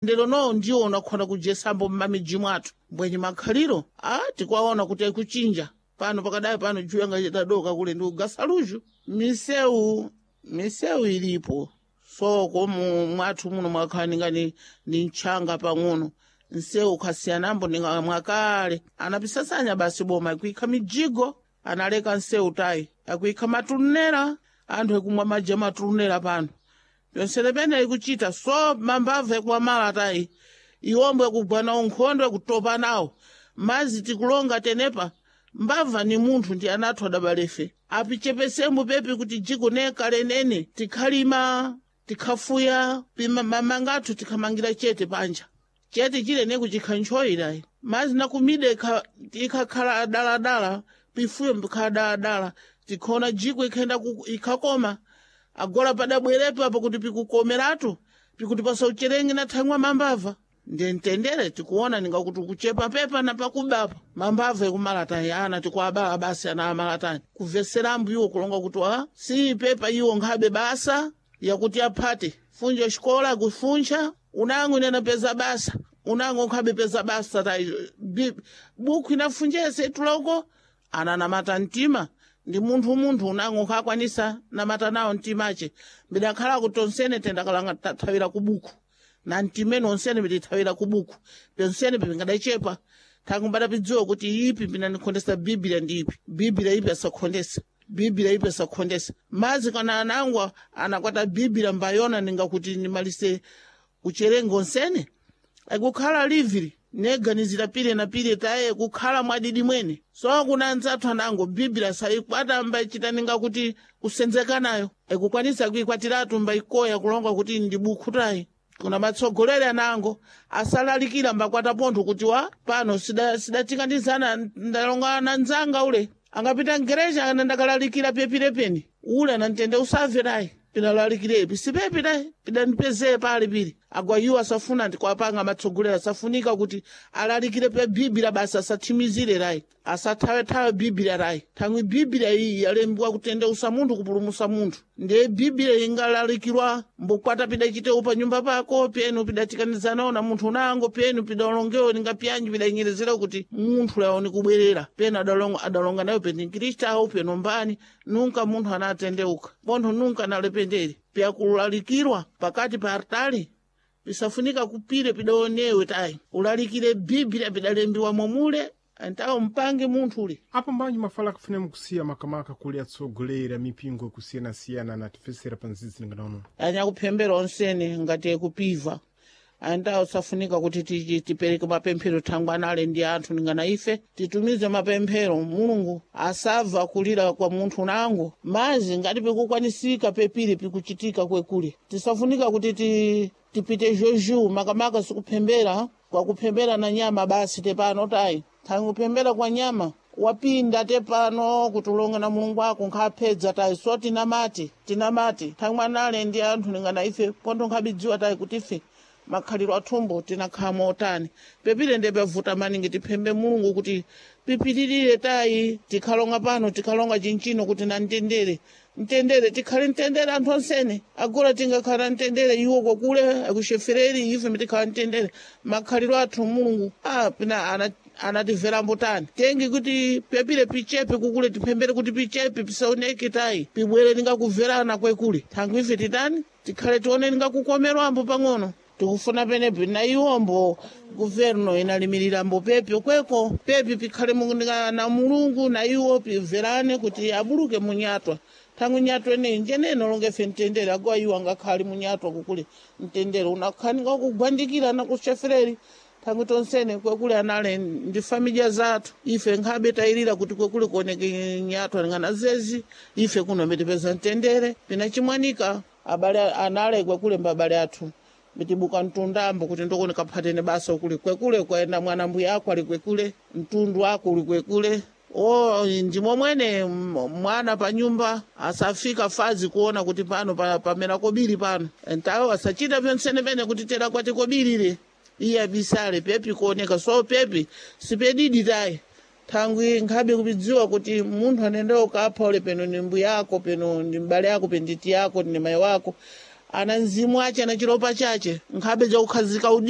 Ndero no ndiwo unakhona kujesambo mmamiji mwathu mbwenye makhaliro a tikwaona kuti akuchinja pano pakadai pano juya ngachitadoka kule ndi ugasaluju. Misewu ilipo soko mu mwathu muno mwakhala ningani ni mtchanga pang'ono nsewu ukhasiyanambo ninga mwakale anapisasanya basi boma ikuikha mijigo analeka nsewu tayi akuikha matunera anthu ekumwa madzi amatunera pano pyonsene pene ikuchita so mambava ekuwamala tayi iwombo ekugwa nawo nkhondo ekutopa nawo mazi tikulonga tenepa mbava ni munthu ndi anathu adabalefe apichepesembo pepi kuti jiko nekale nene tikhalima tikhafuya pima mamanga athu tikhamangira chete panja chete chile nekuchikha ntchoyirayi mazi nakumide ikhakhala daladala pifuyo mbikhala daladala tikhona jiko ikhenda ikhakoma agola padabwerepo apo kuti pikukomeratu pikuti pasaucherenge na thang'wa mambava ndiye mtendere tikuona ningakuti kuchepa pepa na pakubapa mambava ekumalatani ana tikuabala basi ana amalatani kumvesera iwo kulonga kuti a si pepa iwo nkhabe basa yakuti aphate funja xikola kufunja unango inanapeza basa unango nkhabe peza basa tayi bukhu inafunjese ituloko ananamata mtima ndi munthu unango nkhakwanisa namata nawo mtimache mbidakhala kuti tonsene tendakalanga tathawira ku buku na mtimene onsene pitithawira ku buku pyonsene pipingadachepa thangu mbadapidziwa kuti ipi pinanikhondesa biblia ndi ipi biblia ipi asakhondesa biblia ipi asakhondesa mazi kana anangwa anakwata biblia mbayona ningakuti nimalise kucherenga onsene akukhala liviri neganizira pile na pile taye kukhala mwadidi mwene so kuna anzathu anango biblia sayikwata mbachita ninga kuti kusenzeka nayo ikukwanisa kuikwatiratu mbaikoya kulonga kuti ndi bukhu tayi kuna matsogoleri anango asalalikira mbakwata pontho kuti wa pano sidatikandizana ndalonga na nzanga ule angapita mgereja ana ndakalalikira pepirepeni ule anantende usave tayi pinalalikirepi sipepi tayi pidanipezeye pali pili agwa iwo asafuna ndikwapanga matsogoleri asafunika kuti alalikire pe biblia basi asathimizire rayi asathawethawe biblia rayi thangwi biblia iyi yalembiwa kutendeusa munthu kupulumusa munthu ndiye biblia ingalalikirwa mbukwata pidachitewo pa nyumba pako penu pidatikanizanawo na munthu unango penu pidalongewo ningapyanji pidayinyerezera kuti munthu lawo kubwerera penu adalonga nayo peni nkristawo penu mbani nunka munthu anatendeuka pontho nunka analependere pyakulalikirwa pakati pa artali pisafunika kupire pidaonewe tayi ulalikire biblia pidalembiwa momule antawo mpange munthu ule apo mbanji mafala akufuna mukusiya makamaka kuli atsogolera mipingo kusiyanasiyana natifesera pa nzizi ninganono anyakuphembera onsene ngati ekupiva antawo safunika kuti tipereke mapemphero thangwi anale ndi anthu ningana ife titumize mapemphero mulungu asabva kulira kwa munthu nango mazi ngati pikukwanisika pepiri pikuchitika kwekule tisafunika kuti tipite juju makamaka sikuphembera kwakuphembera na nyama basi tepano tayi thangwi kuphembera kwa nyama wapinda tepano kuti ulonge na mulungu wako nkhapedza tayi so tinamati thangwi anale ndi anthu ningana ife pontho nkhabidziwa tayi kuti ife makhaliro athumbo tinakhala motani pepile ndepavuta maningi tiphembe mulungu kuti pipitirire tayi tikhalonga pano tikhalonga chinchino kuti na mtendere mtendere tikhale mtendere anthu onsene agora tingakhala mtendere iwo kwakule akuchefereri ife tikhala mtendere makhaliro athu mulungu a pina anatimvera mbutani tengi kuti pepile pichepe kukule tiphembere kuti pichepe pisaoneke tayi pibwere ningakubverana kwekule thangwi ife titani tikhale tione ningakukomerwambo pang'ono tikufuna penepi na iwombo guverno inalimiriramo pepi kweko pepi pikhale na mulungu na iwo pibverane kuti abuluke munyatwa thangwi nyatwa eneyi njenene longefe mtendere agowa iwo angakhale munyatwa kukule mtendere unakhanika kugwandikira na kuchefereri thangwi tonsene kwekule anale ndi familia zathu ife nkhabe tayilira kuti kwekule kuoneke nyatwa ngana zezi ife kuno mitipeza mtendere pinachimwanika abale anale kwekule mbabale athu mitibuka mtundambo kuti ndokoni kaphatene basa ukuli kwekule kwaenda mwana mbuya ako ali kwekule mtundu wako uli kwekule o ndimo mwene mwana pa nyumba asafika fazi kuona kuti pano pamera kobiri pano ntawo asachita pyonsene pene kuti tera kwati kobirire iye abisale pepi kuoneka so pepi sipedidi tayi thangwi nkhabe kupidziwa kuti munthu anendewo kapha ule peno ni mbuya ako peno ndi mbale ako penditi yako ndi mayi wako Ana mzimu ache na chilopa chache nkhabe jakukhazika udi.